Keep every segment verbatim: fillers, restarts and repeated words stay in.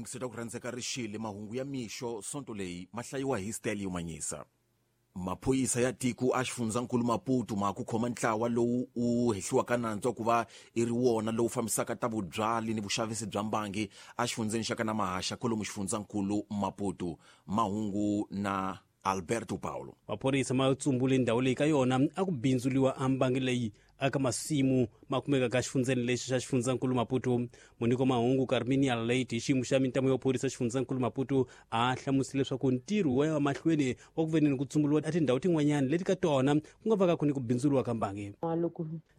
Mwingiseta ku rhandzeka rixile mahungu ya mixo sonto leyi ma hlayiwa hi Stelio Manyisa. Maphorisa ya tiko a xifundzankulu Maputo ma ku khoma ntlawa lowu wu hehliwaka nandzu ku va i ri wona lowu fambisaka ta vubyali ni vuxavisi bya mbangi a xifundzeni xa ka na Mahaxa kwalomu xifundzankulu Maputo. Mahungu na Alberto Paulo. Maphorisa ma tsumbule ndhawu leyi ka yona a ku bindzuliwa a mbangi leyi aka masimu ma kumeka ka xifundzeni lexi xa xifundzankulu Maputo. Muniko mahungu Carminia Late hi xiyimo xa mintamu ya phorisa xifundzankulu Maputo a hlamusile leswaku ntirho wa ya mahlweni wa ku veneni ku tsumbuliwa a tindhawu tin'wanyana leti ka tona ku nga vaka ku ni ku bindzuliwa ka mbangi.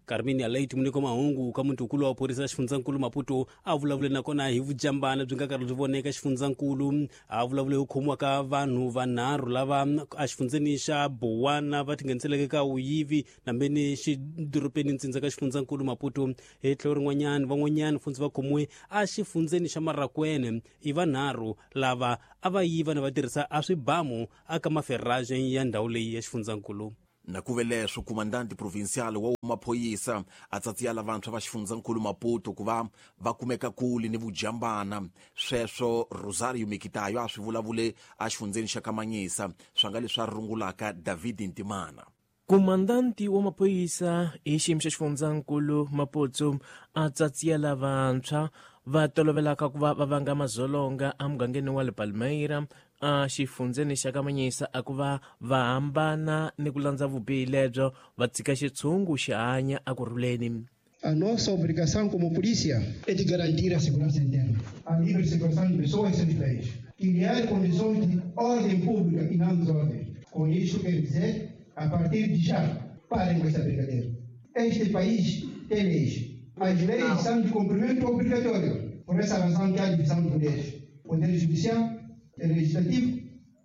Carminia Late muniko mahungu ka mutukulu wa phorisa xifundzankulu Maputo a vulavule nakona hi vujambana byi nga karhi byi voneka xifundzankulu. A vulavule hi ku khomiwa ka vanhu vanharhu lava a xifundzeni xa Bowana va tingheniseleke ka vuyivi nambeni xidorobeni ntsindza ka xifundzankulu Maputo. Hi tlhelo rin'wanyana van'wanyana funtsi va khomiwe a xifundzeni xa Marakwene i vanharhu lava a va yiva na va tirhisa a swibamu aka maferraje ya ndhawu leyi ya xifundzankulu. Na ku ve leswo comandante provincial wa maphorisa a tsatsiya lavantshwa va xifundzankulu Maputo ku va va kumeka kule ni vujambana. Sweswo Rosario Mikitayo a swi vulavule a xifundzeni xa Kamanyisa swa nga leswi a rungulaka David Ntimana. Komandanti wa maphorisa hi xiyimo xa xifundzankulu Maputo a tsatsiya lavantshwa va tolovelaka ku va va vanga madzolonga emugangeni wa le Palmeira a xifundzeni xa Kamanyisa a ku va va hambana ni ku landza vubihi lebyo va tshika xitshungu xi hanya ekurhuleni. A nossa obrigação como polícia é de garantir a segurança interna, a livre circulação de pessoas e seus bens, criar condições de ordem pública e não desordem. Com isto quero dizer, a partir de já, parem com esta brincadeira. Este país tem leis. As leis são de cumprimento obrigatório. Por essa razão que há divisão de poderes. Poder judicial, legislativo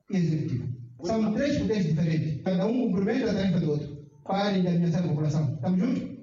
e executivo. São três poderes diferentes. Cada um cumprimenta a tarefa do outro. Parem de ameaçar a população. Estamos juntos?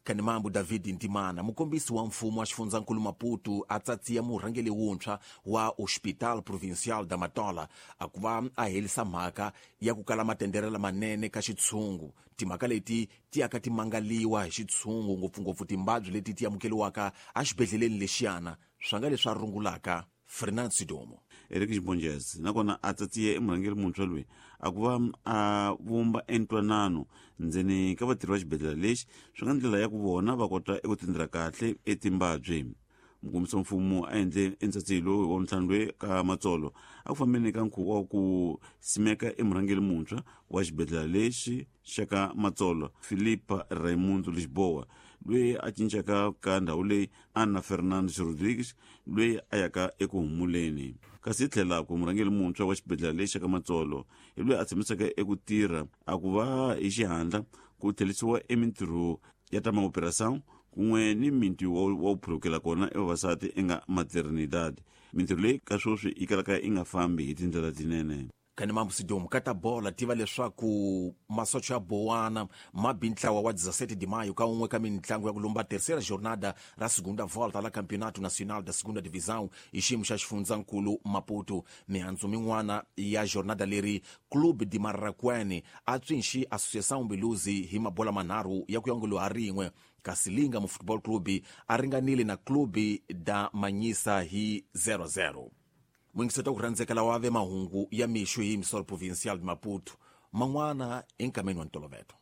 Kanimambu David Ntimana, mukombisi wa mfumo wa xifundzankulu Maputo a tsatsiya murhangeri wuntshwa wa Hospital Provincial da Matola a ku va a herisa mhaka ya ku kala matendere lamanene ka xitshungu. Timhaka leti ti yaka ti mangaliwa hi xitshungu ngopfungopfu timbabyi leti ti amukeliwaka exibedhleleni lexiyana swa nga leswi a rungulaka Fernand Sidomo. Eric Xibonjez nakona a tsatsiye emurhangeri muntshwa loyi a ku va a vumba entwanano ndzeni ka vatirhi va xibedhlele lexi swi nga ndlela ya ku vona va kota eku tindira kahle etimbabyi. Mukombisi wa mfumo a endle entsatsiyo lowu wa ntlhanu loyi ka Matsolo a ku fambeni ka nkhuvo wa ku simeka emurhangeri muntshwa wa xibedhlele lexi xa ka Matsolo Filipa Raimundo Lisboa loyi a cincaka ka ndhawu leyi Ana Fernandes Rodrigues loyi a yaka eku humuleni. Kasi hi tlhela ku murhangeri muntshwa wa xibedhlele lexi xa ka Matsolo hi loyi a tshembisaka eku tirha a ku va hi xihatla ku tlherisiwa emintirho ya ta maoperação kun'we ni minti wa wu phulukela kona evavasati enga maternidad. Mintirho leyi ka sweswi yi kalaka yi nga fambi hi tindlela tinene. Kanimambu Sidomu ka ta bola tiva leswaku masocha ya Bowana ma bi ntlawa wa dezessete de maio ka un'we ka mintlangu ya ku lumba terceira jornada ra segunda volta la Campeonato Nacional da Segunda Divisão hi xiyimo xa xifundzankulu Maputo. Mihandzu min'wana ya jornada leri Clube de Marraquene a tswinxi Associação Beluzi hi mabola manharhu ya ku yongolo ha rin'we, kasi Linga mu Football Club a ringanile na Clube da Manyisa hi zero zero. Mwingiseta ku rhandzeka lawa ve mahungu ya mixo hi Misol Provincial de Maputo man'wana enkameni wa ntolovelo.